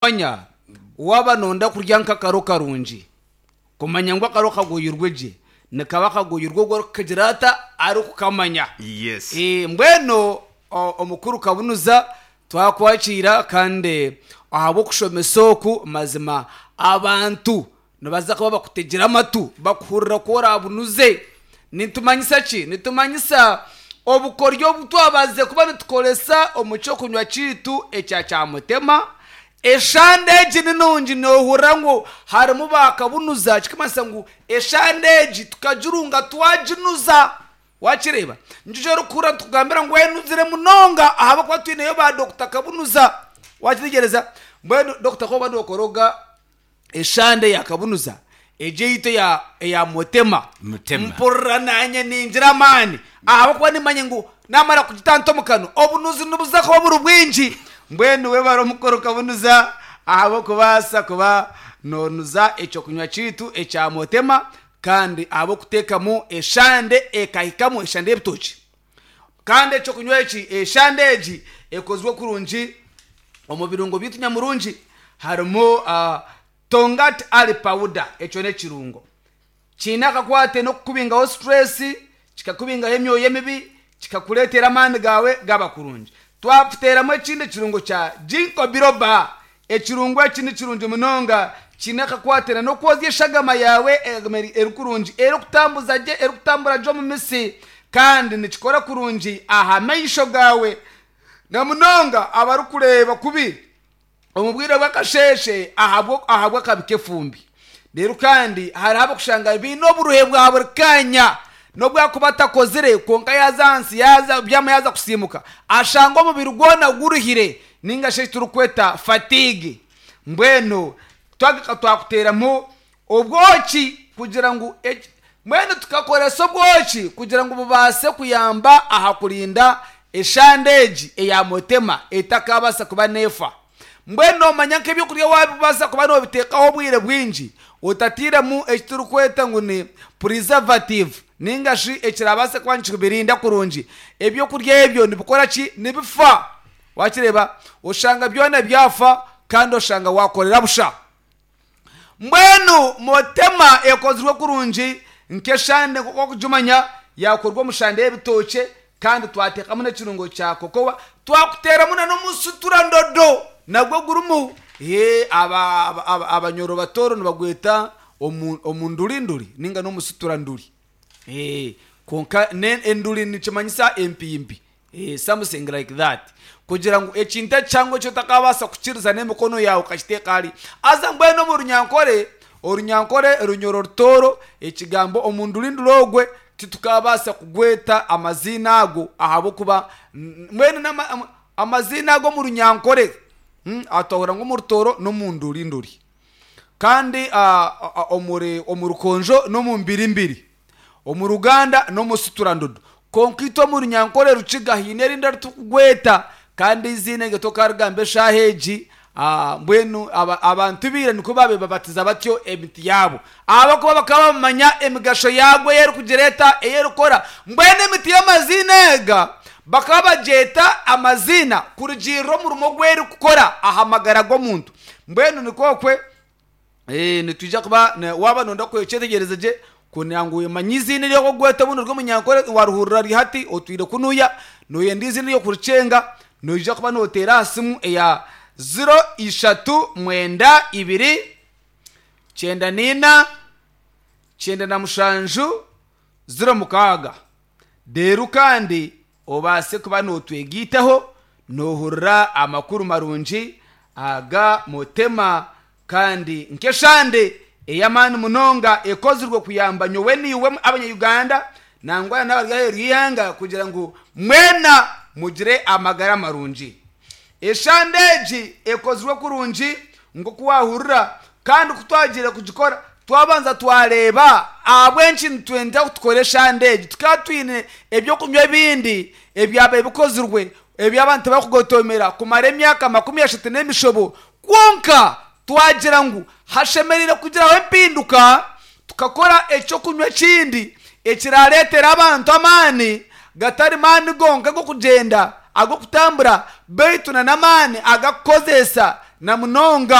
Manya waaba nooyenda kurya nk'akaro karungi, kumanya ngu akaro kagoyirwe gye, nikaba kagoyirwe ogwo arikukagira ata? Arikukamanya. Yes. Mbwenu omukuru Kabunuza twakwakiira kandi ahabw'okushomesa oku mazima abantu nibaza kuba bakutegire amatu bakuhurira ku orabunuze. Nitumanyisa ki? Nitumanyisa obukoryo obu twabazize kuba nitukoresa omu ky'okunywa kyaitu ekya kyamutema. Eshande egi ni nungi noohurira ngu harimu baakabunuza kirikumanyisa ngu eshande egi tukagirunga twaginuza. Waakireeba? Nikyo eki orikuhurira nitukugambira ngu enuzire munonga ahabw'okuba twineyo ba Dokita Kabunuza. Waakitegyereza? Mbwenu Dokita ku orikuba nookoroga eshande ya Kabunuza, egyo eyaitu eya eya Mutema, Mutema. mpurira naanye ningira amaani ahabw'okuba nimmanya ngu naamara kugita nta omu kanwa, obunuzi nibuza kuba buri bwingi. Mbwenu webare omukoro Kabunuza ahabw'okubaasa kuba noonuza eky'okunywa kyaitu ekya Mutema kandi ahabw'okuteekamu eshande ekahikamu eshande y'ebitookye. Kandi eky'okunywa eki, eshande egi ekozirwe kurungi omu birungo byaitu nyamurungi harimu Tongat Ali Powder, ekyo n'ekirungo. Kiine akakwate n'okukubingaho stress, kikakubingaho emyoyo emibi, kikakureetera amaani gaawe gaaba kurungi. Twakuteeramu ekindi ekirungo kya Ginkgo Biloba. Ekirungo eki ni kirungi munonga, kiine akakwate na n'okwozya eshagama yaawe egume eri kurungi, erikutambuza gye, erikutambura gye omu mitsi kandi nikikora kurungi aha maisho gaawe na munonga abarikureeba kubi omu bwire bw'akasheeshe ahabw'akabi k'efumbi. Reero kandi hariho ab'okushanga baine oburuhe bwa buri kaanya n'obu akuba atakozire kwonka yaaza ahansi yaaza kubyama yaaza kusiimuka ashanga omubiri gwona guruhire ninga shi eki turikweta fatigue. Mbwenu twagaruka twakuteeramu obwoki kugira ngu mbwenu tukakoresa obwoki kugira ngu bubaase kuyamba aha kurinda eshande egi eya mutema etakabaasa kuba neefa. Mbwenu noomanya nk'eby'okurya waabibaasa kuba noobiteekaho obwire bwingi otatairemu eki turikweta ngu ni preservative nainga shi ekiraabaase kuba nikibirinda kurungi, eby'okurya ebyo nibikora ki? Nibifa. Waakireeba? Oshanga byona byafa kandi oshanga waakorera busha. Mbwenu motema ekozirwe kurungi nk'eshande nk'oku orikugimanya, yaakorwa omu shande y'ebitookye kandi twateekamu n'ekirungo kya kokowa, twakuteeramu na n'omusuturandodo nagwo gurimu. Abanyoro batooro nibagweta omundurinduri nainga n'omusuturanduri. Kwonka enduri nikimanyisa empimpi. Something like that. Kugira ngu ekintu ekihango eki otakabaasa kukiriza n'emikono yaawe okakiteeka hariya. Haza mbwenu omu Runyankore, Orunyankore, Runyoro Rutooro, ekigambo omundurinduri ogwe titukabaasa kugweta amaziina ago ahabw'okuba mbwenu amaziina ago omu Runyankore twahurira ngu omu Rutooro n'omundurinduri. Kandi omuri omu Rukonjo n'omu Mbirimbiri. Omu Ruganda n'omu Suturandodo. Kwonka itwe omu Runyankore Rukiga haine erindi eri turikugweta kandi eiziina eryo tokarigamba eshaaha egi. Mbwenu abantu ba ira nikwo baabaire babatiza batyo emiti yaabo ahabw'okuba bakaba bamanya emigasho yaagwo ei erikugira eta, ei erikukora. Mbwenu emiti y'amaziina ega bakaba bagyeta amaziina kurugiirira omurimo ogu erikukora aha magara g'omuntu. Mbwenu nikwo okwe. Nitwija kuba waaba nooyenda kukyetegyereza gye kugira ngu omanye eiziina eri orikugweta obundi ori omunyankore waarihurira riri hati otwire kunuya nooyenda eiziina ery'okurikyenga noija kuba nooteera aha simu eya ziro ishatu mwenda ibiri kyenda naina 97 06. Reero kandi obaase kuba nootwegaitaho noohurira amakuru marungi aga Mutema kandi nk'eshande ey'amaani munonga ekozirwe kuyamba nyowe naiwe abanya-Uganda nangwa n'abari aheeru y'eihanga kugira ngu mwena mugire amagara marungi. Eshande egi ekozirwe kurungi nk'oku waahurira kandi ku twagiire kugikora twabanza twareeba ahabw'enki nitwenda ngu tukore eshande egi. Tukaba twine eby'okunywa ebindi ebyabaire bikozirwe ebi abantu barikugotomera kumara emyaka 30 n'emishobo kwonka twagira ngu hashemereire kugiraho empinduka tukakora eky'okunywa ekindi ekiraareetere abantu amaani gatari maani gonka ag'okugyenda, ag'okutambura beitu n'amaani agakukozeesa na munonga.